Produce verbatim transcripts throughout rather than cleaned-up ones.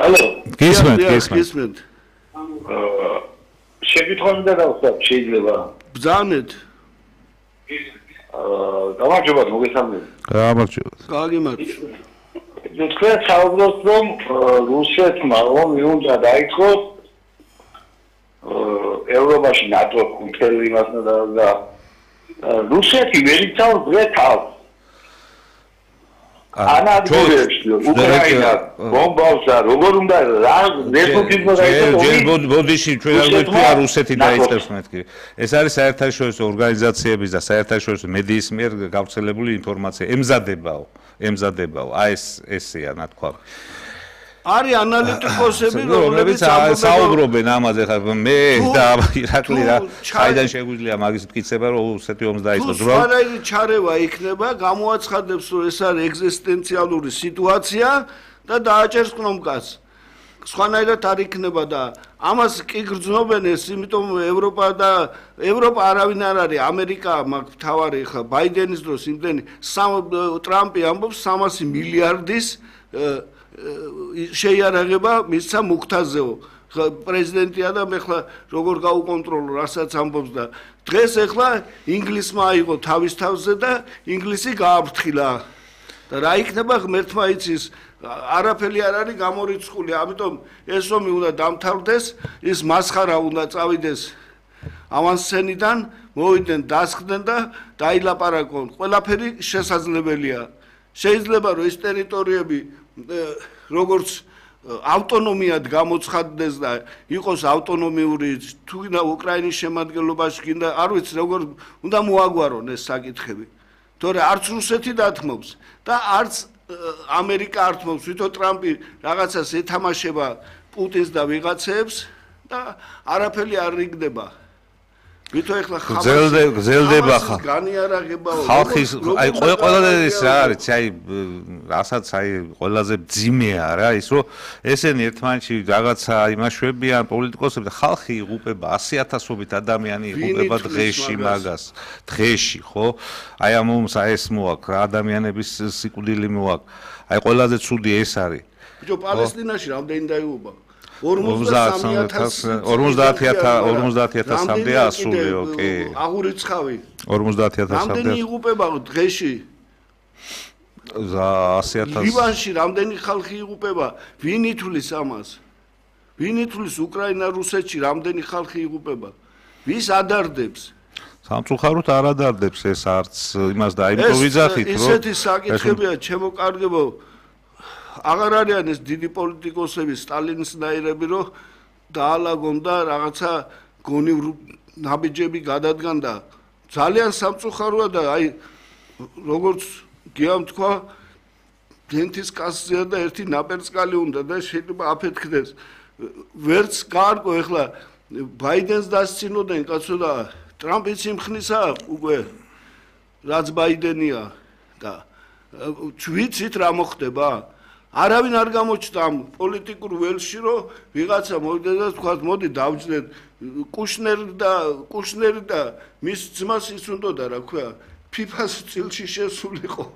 Алло. გისმენთ, გისმენთ. აა შეკითხვები და დავხსნათ შეიძლება. ბრძანეთ. აა გამარჯობა, მოგესალმებით. გამარჯობა. გაგიმარჯობა. თქვენ საუბრობთ რომ რუსეთმა რომ უნდა დაიწყოს ევროპაში ნატო კუთელი იმას და რუსეთი ვერ იცავს გვეთავს ანადგურებს უკრაინა ბომბავს და როგორ უნდა რა რესურსი დაიწყოს ბოდიში ჩვენ არ გვექია რუსეთი დაიწყებს მეთქი ეს არის საერთაშორისო ორგანიზაციების და საერთაშორისო მედიის მიერ გავრცელებული ინფორმაცია ემზადებაო ემზადებაო აი ეს ესეა ნათქვამი არის ანალიტიკოსები რომლებიც საუბრობენ ამაზე ხა მე და ირაკლი რა საიდან შეგვიძლია მაგის მტკიცება რომ რუსეთი ომს დაიწყოს რა სვანაირი ჩარევა იქნება გამოაცხადებს რომ ეს არის ეგზისტენციალური სიტუაცია და დააჭერს კნომკას სხვანაირად არ იქნება და ამას კი გრძნობენ ეს იმიტომ ევროპა და ევროპა არავინ არ არის ამერიკა მაგ თავარი ხა ბაიდენის დროს იმდენი ტრამპი ამბობს სამასი მილიარდის შეიარაღება მისცა მუქთაზეო პრეზიდენტია და მე ხლა როგორ გაუკონტროლო რასაც ამბობს და დღეს ეხლა ინგლისმა აიღო თავის თავზე და ინგლისი გააფრთხილა და რა იქნება ღმერთმა იცის არაფერი არ არის გამორიცხული ამიტომ ეს ომი უნდა დამთავრდეს ის მასხარა უნდა წავიდეს ავანსცენიდან მოვიდნენ დასხდნენ და დაილაპარაკონ ყველაფერი შესაძლებელია შეიძლება რომ ეს ტერიტორიები როგორც ავტონომიად გამოცხადდეს და იყოს ავტონომიური თუნდა უკრაინის შემადგენლობაში კიდე არ ვიცი როგორ უნდა მოაგვარონ ეს საკითხები თორე არც რუსეთი დათმობს და არც ამერიკა ართმობს ვითო ტრამპი რაღაცას ეთამაშება პუტინს და ვიღაცებს და არაფერი არ რიგდება ვითო ეხლა გზელდება განიარაღებაო ხალხის აი ყველა ეს რა არის აი რასაც აი ყველაზე ძიმეა რა ის რომ ესენი ერთმანეთში რაღაცა იმაშვებიან პოლიტიკოსები და ხალხი იღუპება ასი ათასობით ადამიანი იღუპება დღეში მაგას დღეში ხო აი ამ ომს აი ეს მოაქვს რა ადამიანების სიკვდილი მოაქვს აი ყველაზე ცუდი ეს არის ბიჭო პალესტინაში რამდენი დაიღუპა ორმოცდაათი ათასამდე ასულიო კი აღურიცხავი ორმოცდაათი ათასამდე რამდენი იღუპება დღეში ასი ათასი ლიბანში რამდენი ხალხი იღუპება ვინ ითვლის ამას ვინ ითვლის უკრაინა რუსეთში რამდენი ხალხი იღუპება ვის ადარდებს სამწუხაროდ არ ადარდებს ეს არც იმას და აიმტო ვიძახით რომ ესეთი საკითხებია ჩემო კარგებო აღარ არიან ეს დიდი პოლიტიკოსები სტალინსნაირები რომ დაალაგონ და რაღაცა გონი ნაბიჯები გადადგან და ძალიან სამწუხაროა და აი როგორც გიამ თქვა დენთის კასზეა და ერთი ნაპერწკალი უნდა და შეიძლება აფეთქდეს ვერც გაარკვე ეხლა ბაიდენს დასცინოდნენ კაცო და ტრამპიც იმხნისა უკვე რაც ბაიდენია და ვიცით რა მოხდება არავინ არ გამოჩნდა ამ პოლიტიკურ ველში რომ ვიღაცა მოვიდა და თქვა მოდი დავჯდეთ კუშნერი და კუშნერი და მის ძმას ის უნდოდა რა ქვია ფიფას წილში შესულიყო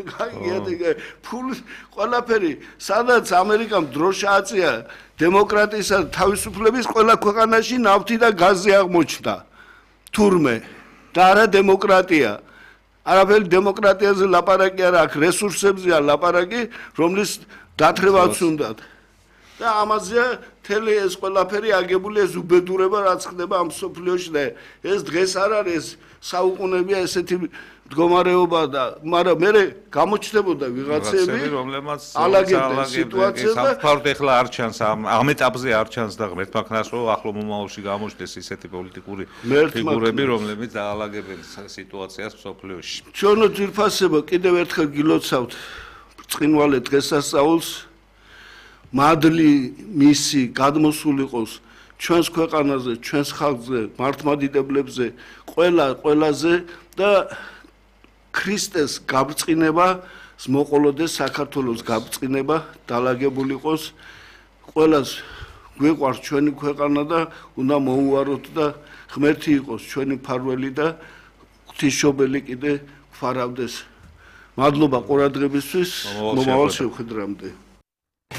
გაიგეთ ფულ ყველაფერი სადაც ამერიკამ დროშა აწია დემოკრატიისა და თავისუფლების ყველა ქვეყანაში ნავთი და გაზი აღმოჩნდა თურმე და არა დემოკრატია არაფერი დემოკრატიაზე ლაპარაკი არ აქვს რესურსებზეა ლაპარაკი რომლის დათრევაც უნდათ და ამაზე თელი ეს ყველაფერი აგებული ეს უბედურება რაც ხდება ამ სოფლიოში და ეს დღეს არ არის საუკუნეებია ესეთი მდგომარეობა და მაგრამ მე გამოჩნდებოდა ვიღაცები რომლებმაც ალაგებდნენ სიტუაციას და სამწუხაროდ ეხლა არ ჩანს ამ ეტაპზე არ ჩანს და ღმერთმა ქნას რომ ახლო მომავალში გამოჩნდეს ისეთი პოლიტიკური ფიგურები რომლებიც დაალაგებენ სიტუაციას სოფლიოში ჩვენო ძირფასებო კიდევ ერთხელ გილოცავთ ბრწყინვალე დღესასწაულს მადლი მისი გადმოსულიყოს ჩვენს ქვეყანაზე ჩვენს ხალხზე მართლმადიდებლებზე ყველა ყველაზე და ქრისტეს გაბრწყინება მოყოლოდეს საქართველოს გაბრწყინება დალაგებული იყოს ყველას გვეყვარს ჩვენი ქვეყანა და უნდა მოუვაროთ და ღმერთი იყოს ჩვენი მფარველი და ღვთისმშობელი კიდე გვფარავდეს მადლობა ყურადღებისთვის მომავალ შეხვედრამდე